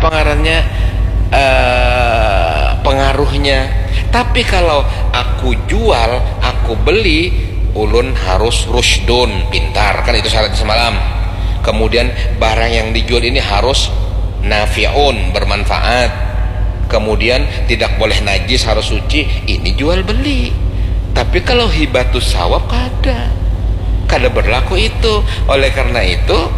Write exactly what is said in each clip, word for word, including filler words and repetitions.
apa ngarannya, eh, pengaruhnya. Tapi kalau aku jual, aku beli, ulun harus rusydun, pintar, kan itu syaratnya semalam. Kemudian barang yang dijual ini harus nafi'un, bermanfaat. Kemudian tidak boleh najis, harus suci. Ini jual beli. Tapi kalau hibatus sawab kada, kada berlaku itu. Oleh karena itu,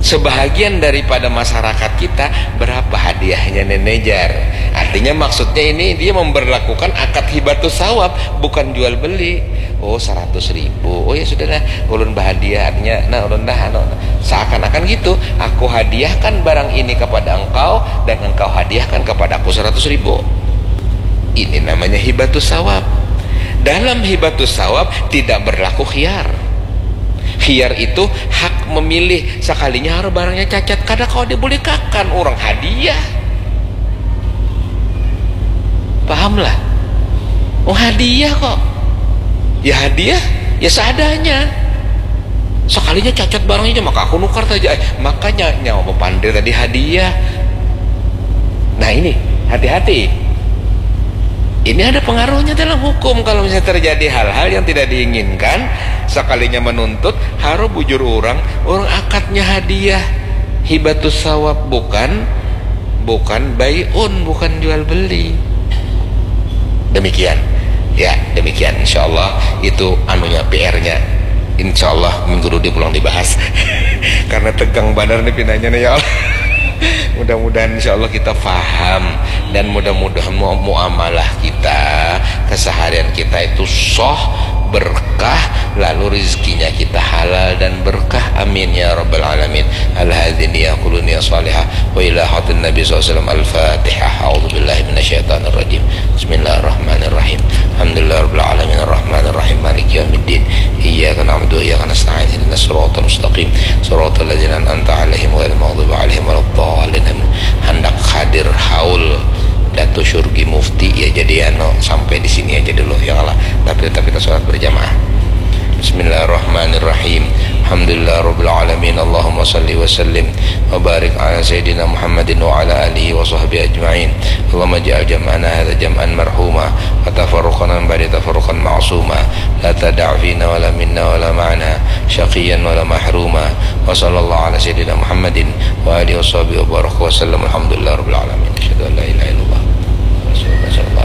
sebahagian daripada masyarakat kita, berapa hadiahnya nenejar? Artinya, maksudnya ini dia memberlakukan akad hibatus sawab, bukan jual beli. Oh, seratus ribu. Oh, ya sudah lah, ulun bahadiah, artinya, nah, ulun dah, anu, seakan-akan gitu, aku hadiahkan barang ini kepada engkau dan engkau hadiahkan kepada aku seratus ribu. Ini namanya hibatus sawab. Dalam hibatus sawab tidak berlaku khiyar. Khiyar itu hak memilih, sekalinya harus barangnya cacat, kada kau dibulikakan, orang hadiah. Paham lah? Oh, hadiah kok. Ya hadiah, ya seadanya. Sekalinya cacat barangnya, maka aku nukar saja. Eh, makanya nyawa bapandir tadi hadiah. Nah, ini, hati-hati. Ini ada pengaruhnya dalam hukum. Kalau misalnya terjadi hal-hal yang tidak diinginkan, sekalinya menuntut, harus bujur orang, orang akadnya hadiah. Hibatus sawab, bukan, bukan bai'un, bukan jual beli. Demikian. Ya, demikian. Insya Allah itu anunya, P R-nya. Insya Allah minggu dudi pulang dibahas. Karena tegang banar nih pinanya nih, ya Allah. Mudah-mudahan, insya Allah, kita faham dan mudah-mudahan mu-, muamalah kita, keseharian kita itu soh, berkah, lalu rezekinya kita halal dan berkah. Amin ya rabbal alamin. Al-hadhi niya kuluniya salihah wa ila hadratin Nabi sallallahu alaihi wasallam. Al-Fatihah. A'udzu billahi minasyaitonir rajim. Bismillahirrahmanirrahim. Alhamdulillahirabbil alamin, arrahmanirrahim, maliki yaumiddin. Iyyaka na'budu wa iyyaka nasta'in. Ihdinas siratal mustaqim. Siratal ladzina an'amta 'alaihim ghairil maghdubi 'alaihim waladdallin. Amin. Handak hadir haul Datu Syurgi Mufti, ya, jadi anu, sampai di sini aja dulu, ya Allah. Tapi tetap kita sholat berjamaah. Bismillahirrahmanirrahim. Alhamdulillah rabbil alamin. Allahumma salli wa sallim wa barik ala sayyidina Muhammadin wa ala alihi wa sahbihi ajma'in. Allahumma ja'al jam'ana hadza jam'an marhuma wa tafarruqana min ba'di tafarruqan ma'suma. La tada'a fina wa la minna wa la ma'ana syaqiyan wa la mahruma. Wa sallallahu ala sayyidina Muhammadin wa alihi wa sahbihi wa baraka wa sallam. Alhamdulillah rabbil alamin. Asyhadu an la ilaha illallah. Rasulullah sallallahu